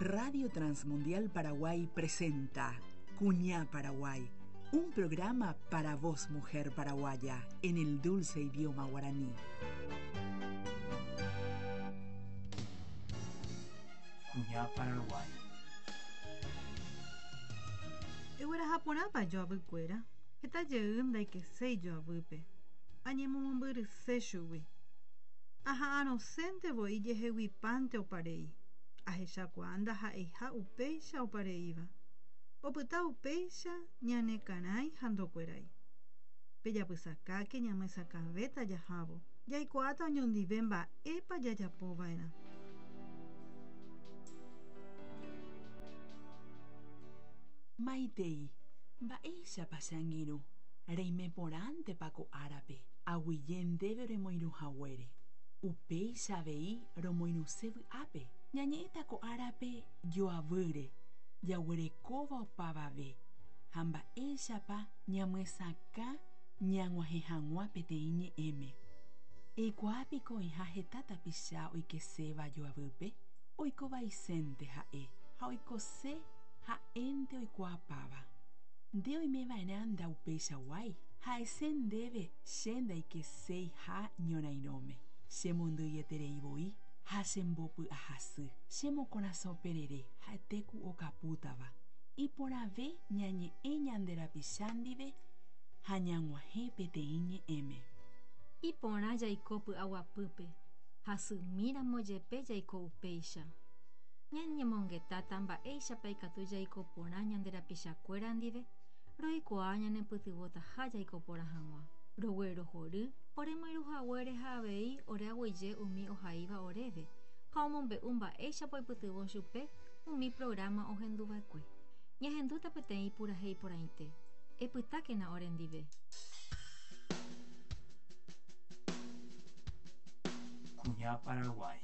Radio Transmundial Paraguay presenta Cuñá Paraguay, un programa para vos, mujer paraguaya, en el dulce idioma guaraní. Kuña Paraguái. Egueraha porãpa joavykuéra? Heta jey ndaikeséi joavýpe, añemomombyryse chugui. Aha'arõsénte voi jeheguipánte oparei. Ahechakuaa ndaha'eiha upéicha opareíva. Opyta upéicha ñane karãi ha ndokuerái. Pejapysakáke ñamyesakãvéta jahávo, jaikuaáta oñondive mba'épa jajapova'erã. Maitei, mba'éichapa che angirũ, reime porãntepa ko árape, aguije ndéve remoirũ haguére. Upéicha avei romoirũse vy'ápe. Ñañe'ẽta ko árape joavýre, jaguerekóva opavave, ha mba'éichapa ñamyesakã ñag̃uahẽ hag̃ua peteĩ ñe'ẽme. Eikuaa piko oĩha heta tapicha oikeséva joavýpe? Oiko vaisénte ha'e, ha oikose ha'énte oikuaapáva. Nde oime va'erã ndaupeichaguái, ha'ese ndéve che ndaikeséiha ñorairõme. Che mondyieterei voi ha chembopy'ahasy. Che mokorasõ perere ha'ete ku okapútava. Iporãve ñañe'ẽ ñande rapicha ndive ha ñag̃uahẽ peteĩ ñe'ẽme. Iporã jaiko py'aguapýpe, hasymíramo jepe jaiko upéicha. Ñañemongetáta mba'éichapa ikatu jaiko porã ñande rapichakuéra ndive, roikuaa ñanepytyvõtaha jaiko porã hag̃ua. Roguerohory oremoirũ haguére ha avei ore aguyje umi ohaíva oréve ha omombe'u mba'éichapa oipytyvõ chupe umi prográma ohenduva'ekue. Ñahendúta peteĩ purahéi porãite. Epytákena orendive. Kuña Paraguái.